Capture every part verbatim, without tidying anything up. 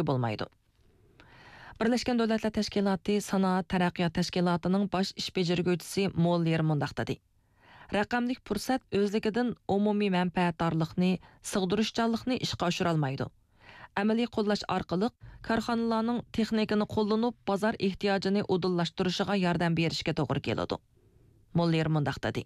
بولمايدۇ. بىرلەشكەن دۆلەتلەر تەشكىلاتى سانائەت تەرەققىيات تەشكىلاتىنىڭ باش ئىش بېجىرگۈچىسى موللېر مۇنداق دېدى: رەقەملىك پۇرسەت ئۆزلۈكىدىن ئومۇمىي مەنپەئەتدارلىقنى، سىغدۇرۇشچانلىقنى ئىشقا ئاشۇرالمايدۇ. ئەمەلىي قوللاش ئارقىلىق كارخانىلارنىڭ تېخنىكىنى قوللىنىپ، بازار ئېھتىياجىنى ئۇدۇللاشتۇرۇشىغا ياردەم بېرىشكە توغرا كېلىدۇ. موللېر مۇنداق دېدى: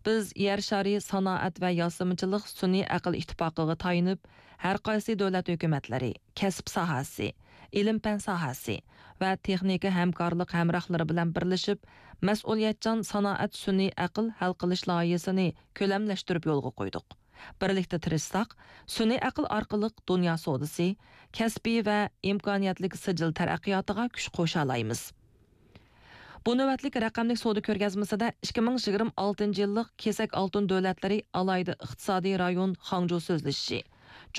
بىز يەر شارى سانائەت ۋە ياسىمىچىلىق سۈنئىي ئەقىل ئىتتىپاقىغا تايىنىپ، ھەر قايسى دۆلەت ھۆكۈمەتلىرى، كەسىپ ساھەسى، ئىلىم-پەن ساھەسى ۋە تېخنىكا ھەمكارلىق ھەمراھلىرى بىلەن بىرلىشىپ، مەسئۇلىيەتچان سانائەت سۈنئىي ئەقىل ھەل قىلىش لايىھىسىنى كۆلەملەشتۈرۈپ يولغا قويدۇق. بىرلىكتە تىرىشساق، سۈنئىي ئەقىل ئارقىلىق دۇنيا سودىسى، كەسپىي ۋە ئىمكانىيەتلىك سىجىل تەرەققىياتىغا كۈچ قوشالايمىز. بۇ نۆۋەتلىك رەقەملىك سودا كۆرگەزمىسىدە ئىككى مىڭ يىگىرمە ئالتىنچى يىللىق كېسەك ئالتۇن دۆلەتلىرى ئالاھىدە ئىقتىسادىي رايون خاڭجۇ سۆزلىشىشى،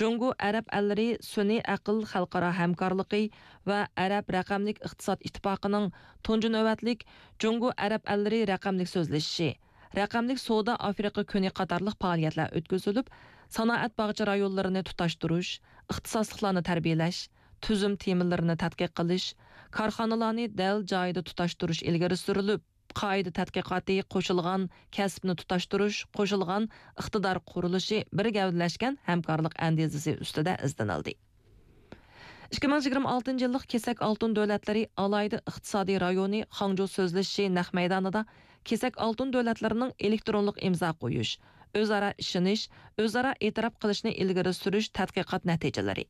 جۇڭگو ئەرەب ئەللىرى سۈنئىي ئەقىل خەلقئارا ھەمكارلىقى ۋە ئەرەب رەقەملىك ئىقتىساد ئىتتىپاقىنىڭ تۇنجى نۆۋەتلىك جۇڭگو ئەرەب ئەللىرى رەقەملىك سۆزلىشىشى، رەقەملىك سودا ئافرىقا كۈنى قاتارلىق پائالىيەتلەر ئۆتكۈزۈلۈپ، سانائەت باغچە رايونلىرىنى تۇتاشتۇرۇش، ئىختىساسلىقلارنى تەربىيەلەش، تۈزۈم تېمىلىرىنى تەتقىق قىلىش، كارخانىلارنى دەل جايىدا تۇتاشتۇرۇش ئىلگىرى سۈرۈلۈپ، قائىدە تەتقىقاتى، قوشۇلغان كەسىپنى تۇتاشتۇرۇش، قوشۇلغان ئىقتىدار قۇرۇلۇشى بىر گەۋدىلەشكەن ھەمكارلىق ئەندىزىسى ئۈستىدە ئىزدىنىلدى. ئىككى مىڭ يىگىرمە ئالتىنچى يىللىق كېسەك ئالتۇن دۆلەتلىرى ئالاھىدە ئىقتىسادىي رايونى خاڭجۇ سۆزلىشىشى نەق مەيدانىدا كېسەك ئالتۇن دۆلەتلىرىنىڭ ئېلېكترونلۇق ئىمزا قويۇش، ئۆزئارا ئىشىنىش، ئۆزئارا ئېتىراپ قىلىشنى ئىلگىرى سۈرۈش تەتقىقات نەتىجىلىرى،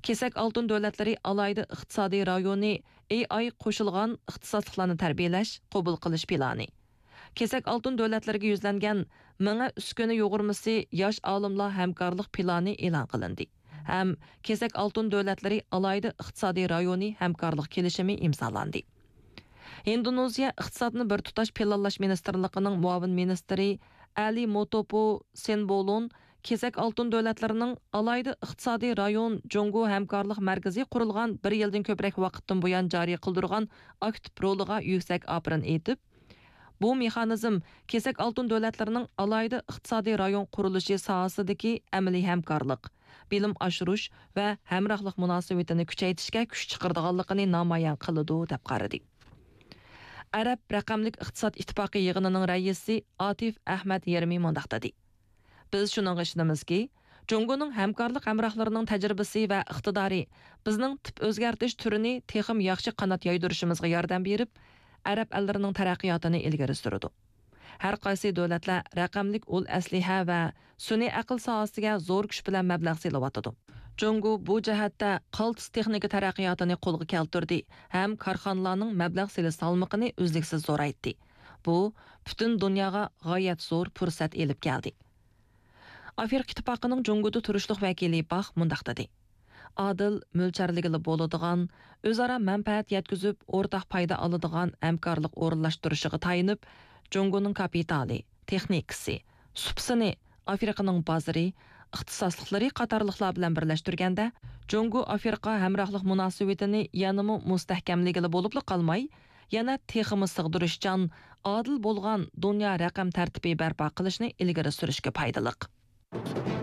كېسەك ئالتۇن دۆلەتلىرى ئالاھىدە ئىقتىسادىي رايونى، ئېي ئاي قوشۇلغان ئىختىساسلىقلارنى تەربىيەلەش، قوبۇل قىلىش پىلانى، كېسەك ئالتۇن دۆلەتلىرىگە يۈزلەنگەن مېڭە ئۈسكۈنە يۇغۇرمىسى ياش ئالىملار ھەمكارلىق پىلانى ئېلان قىلىندى ھەم كېسەك ئالتۇن دۆلەتلىرى ئالاھىدە ئىقتىسادىي رايونى ھەمكارلىق كېلىشىمى ئىمزالاندى. ھىندونېزىيە ئىقتىسادنى بىر تۇتاش پىلانلاش مىنىستىرلىقىنىڭ مۇئاۋىن مىنىستىرى ئەلى موتوپو سېنبولون كېسەك ئالتۇن دۆلەتلىرىنىڭ ئالاھىدە ئىقتىسادىي رايون جۇڭگو ھەمكارلىق مەركىزى قۇرۇلغان بىر يىلدىن كۆپرەك ۋاقىتتىن بۇيان جارى قىلدۇرغان ئاكتىپ رولىغا يۈكسەك ئاپىرىن ئېيتىپ، بۇ مېخانىزم كېسەك ئالتۇن دۆلەتلىرىنىڭ ئالاھىدە ئىقتىسادىي رايون قۇرۇلۇشى ساھەسىدىكى ئەمەلىي ھەمكارلىق، بىلىم ئاشۇرۇش ۋە ھەمراھلىق مۇناسىۋىتىنى كۈچەيتىشكە كۈچ چىقىرىدىغانلىقىنى نامايان قىلىدۇ، دەپ قارىدى. ئەرەب رەقەملىك ئىقتىساد ئىتتىپاقى يىغىنىنىڭ رەئىسى ئاتىف ئەھمەد يېرمى مۇنداق دېدى: بىز شۇنىڭغا ئىشىنىمىزكى، جۇڭگونىڭ ھەمكارلىق ھەمراھلىرىنىڭ تەجرىبىسى ۋە ئىقتىدارى بىزنىڭ تىپ ئۆزگەرتىش تۈرىنى تېخىمۇ ياخشى قانات يايدۇرۇشىمىزغا ياردەم بېرىپ، ئەرەب ئەللىرىنىڭ تەرەققىياتىنى ئىلگىرى سۈرىدۇ. ھەر قايسى دۆلەتلەر رەقەملىك ئۇل ئەسلىھە ۋە سۈنئىي ئەقىل ساھەسىگە زور كۈچ بىلەن مەبلەغ سېلىۋاتىدۇ. جۇڭگو بۇ جەھەتتە قالتىس تېخنىكا تەرەققىياتىنى قولغا كەلتۈردى ھەم كارخانىلارنىڭ مەبلەغ سېلىش سالمىقىنى ئۈزلۈكسىز زورايتتى. بۇ پۈتۈن دۇنياغا غايەت زور پۇرسەت ئېلىپ كەلدى. ئافرىقا ئىتتىپاقىنىڭ جۇڭگودا تۇرۇشلۇق ۋەكىلى باخ مۇنداق دېدى: ئادىل، مۆلچەرلىگىلى بولىدىغان، ئۆزئارا مەنپەئەت يەتكۈزۈپ، ئورتاق پايدا ئالىدىغان ھەمكارلىق ئورۇنلاشتۇرۇشىغا تايىنىپ، جۇڭگونىڭ كاپىتالى، تېخنىكىسى، سۇپىسىنى ئافرىقىنىڭ بازىرى، ئىختىساسلىقلىرى قاتارلىقلار بىلەن بىرلەشتۈرگەندە، جۇڭگو ئافرىقا ھەمراھلىق مۇناسىۋىتىنى يەنىمۇ مۇستەھكەملىگىلى بولۇپلا قالماي، يەنە تېخىمۇ سىغدۇرۇشچان، ئادىل بولغان دۇنيا رەقەم تەرتىپى بەرپا قىلىشنى ئىلگىرى سۈرۈشكە پايدىلىق.